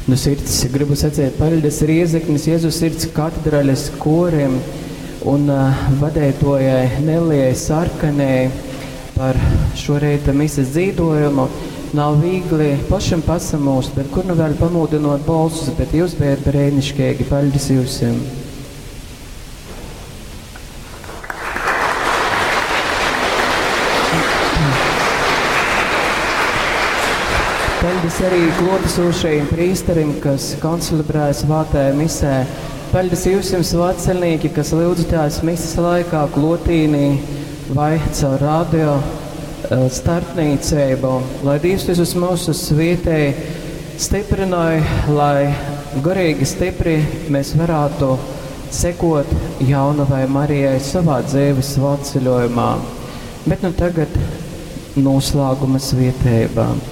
Nu sirds gribu saceit paļdis Riezeknis Jezus Sirds katedrales korim un vadeituojai Nelijai Sarkanei par šo reita mises dzīdojumu. Nav vīgli pašam pasamūst, bet kur nu vēl pamūdinot bolsus, bet jūs bijat brēniškeigi. Paļdis jūsim! Paļdis arī klotesošajiem prīsterim, kas koncelebrēja svātajā misē. Paļdis jūsim svētceļnieki, kas lyudzatās mises laikā klotīnī vai caur radio starpniecību. Lai Dievs visus mūsu svietēj, stiprināja, lai garīgi stipri mēs varētu sekot jaunavai Marijai savā dzīves svētceļojumā. Bet nu tagad noslēguma svietējumā.